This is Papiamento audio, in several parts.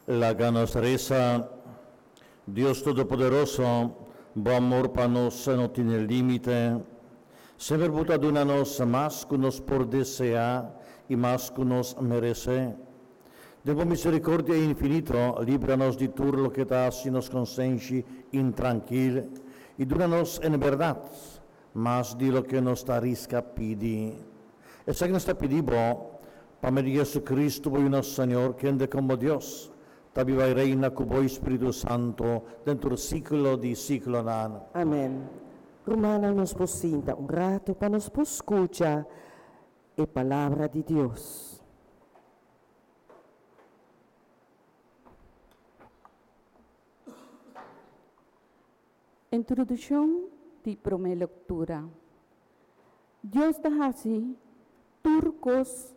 Laga nos resa. Dios Todopoderoso, bo amor pa nos no tin límite. Semper bo ta duna nos mas ku nos por deseá i mas ku nos meresé. Den bo misericordia infinito, libra nos di tur loke ta hasi nos konsenshi intrankil i duna nos en bèrdat mas di loke nos ta riska pidi. Esaki nos ta pidi bo pa medio di Jesucristo, bo Yu nos Señor, kende komo Dios ta biba i reina ku bo i Spiritu Santu den tur siglo di siglonan. Amen. Rumannan, nos por sinta un ratu pa nos por skucha e Palabra di Dios. Introduccion di prome lectura. Dios ta haci tur cos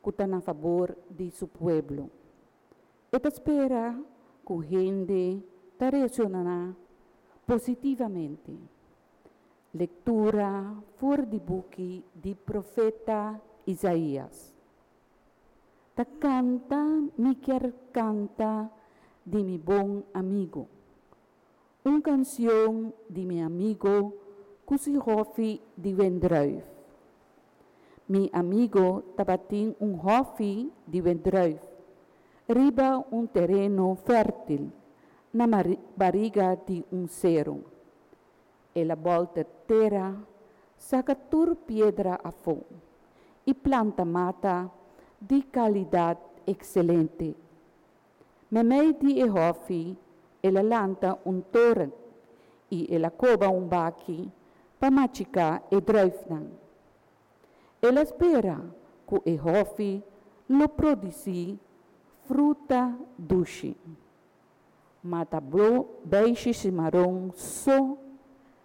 cu ta na fabor di su pueblo. E ta spera cu hende ta reacciona positivamente. Lectura for di buki di profeta Isaías. Ta canta mi kier canta di mi bon amigo. Un cancion di mi amigo cu su hofi di wendruif. Mi amigo tabatin un hofi di wendruif riba un tereno fértil na bariga di un sero. El a bolter tera, saca tur piedra afó i planta mata di calidad excelente. Meimei di e hofi el a lanta un toren i el a koba un baki pa machiká e druifnan. El a spera ku e hofi lo produsí fruta dushi. Ma ta blo beishi shimaron so.